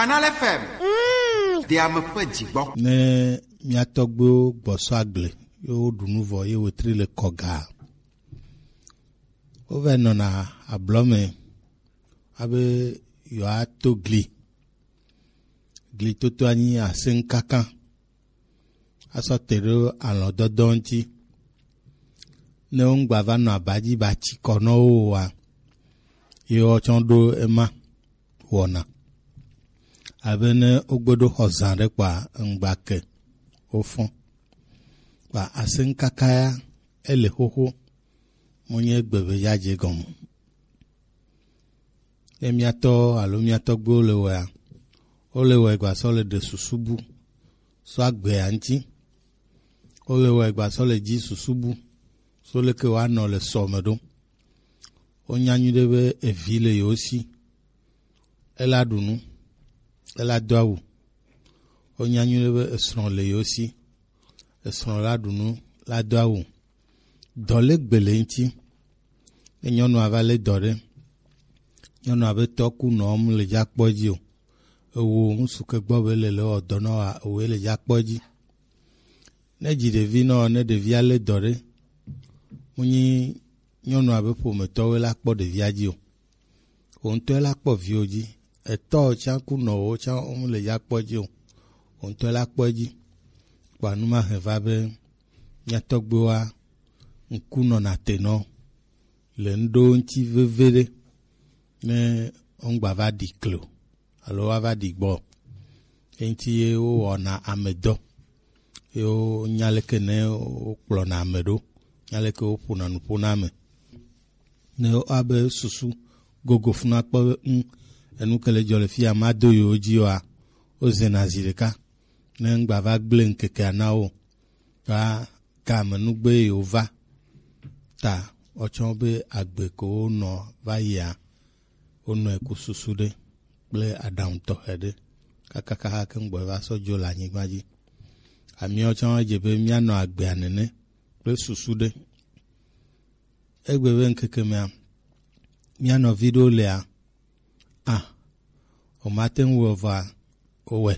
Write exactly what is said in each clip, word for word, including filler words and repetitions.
Kanal F M. Mm. Ɖe ame ƒe dzi gbɔ. Ne mía tɔgbuiwo gbɔ sɔ agble, ye woɖu nu vɔ, ye wetri le kɔga. Wova nɔna ablɔ me abe yewoato gli. Gli toto anyi aseŋkaka. Asɔ te ɖe alɔdɔdɔ ŋuti. Ne woŋgba va nɔ aba dzi ba tsi kɔ nɔ wo oa, ye woatsɔ ɖo ema wɔna. Abe ne wogbe ɖo xɔ zã ɖe kpɔa, ŋgba ke wofɔ. Kpa aseŋkaka ya, ele xoxo, monye egbe be yadze gɔme. Ne mía tɔ alo mía tɔgbuiwo le wɔea, wole wɔe gbasɔ le ɖe susu bu sɔ agbea ŋuti. Wole wɔe gbasɔ le dzi susu bu so leke woanɔ le sɔ me ɖo. Wonya nyuiɖe be evi le yewo si, ela ɖu nu, ela do awu. Wonya nyuiɖe be esrɔ̃ le yewo si, esrɔ̃ la ɖu nu, la do awu. Dɔ le gbe le ŋuti. Ne nyɔnua va lé dɔ ɖe, nyɔnua be tɔ ku nɔ mu le dza kpɔ dzi o. Ewo ŋsu ke gbɔ be le le wɔ dɔ nɔ wa ewoe le dza kpɔ dzi. Ne dzi ɖevi nɔ, ne ɖevia lé dɔ ɖe, mu nyi nyɔnua be ƒometɔwoe la kpɔ ɖevia dzi o. Wò ŋutɔe la kpɔ viwo dzi. Etɔ tsã ku nɔ wo tsã wo mu le dza kpɔ dzi o. Wò ŋutɔe la kpɔ dzi. Kpa nu ma hɛn va be mía tɔgbuiwoa ŋku nɔna te nɔ le ŋɖo ŋuti veve ɖe ne woŋgba va ɖi klo alo woava ɖi gbɔ. Eŋuti ye wowɔna amedɔ. Ye wonya leke ne wokplɔna ame ɖo, nya leke woƒona nu ƒona ame. Ne woabe susu gogo funa kpɔ be, ŋ, enu ke le dzɔ le fi ya, mado yewo dzi oa, wozena zi ɖeka. Ne ŋgba va gblẽ ŋkekea na wo, ta game nugbe yewo va. Ta wotsɔ be agbe ko wonɔ va yia, wonɔe ku susu ɖe kple aɖaŋu tɔxɛ ɖe kakaka ke ŋgbɔ va sɔ dzo le anyigba dzi. Amiawo tsã dze be míanɔ agbea nene kple susu ɖe. Egbe be ŋkeke mea, mía nɔvi ɖewo lea, a, womate ŋu wɔe vɔa, wowɔe.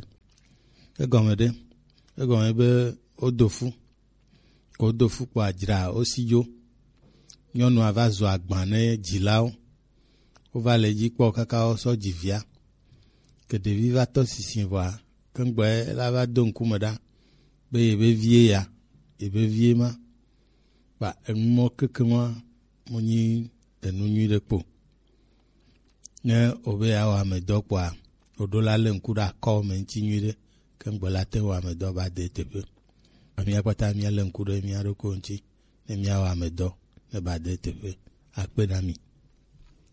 Egɔme ɖe? Egɔme be wodo fu. Ko wodo fu kpɔ adzra wo si dzo. Nyɔnua va zu agba ne dzilawo. Wova le edzi kpɔ kaka wosɔ dzi via. Ke ɖevi va tɔ sisi vɔa, ke ŋgbɔe la va do ŋkume ɖa be yebe vie ya, yebe vie ma. Kpa enu mɔ keke ma mo nyi enu nyui ɖe kpo. Ne wobe yeawɔ amedɔ kpɔa, woɖo la lé ŋku ɖe akɔ me ŋuti nyui ɖe, ke ŋgbe la te wɔ amedɔ ba de teƒe. Amia kpata mía lé ŋku ɖe mía ɖokui ŋuti, ne míawɔ amedɔ ne ba de teƒe. Akpe na mi.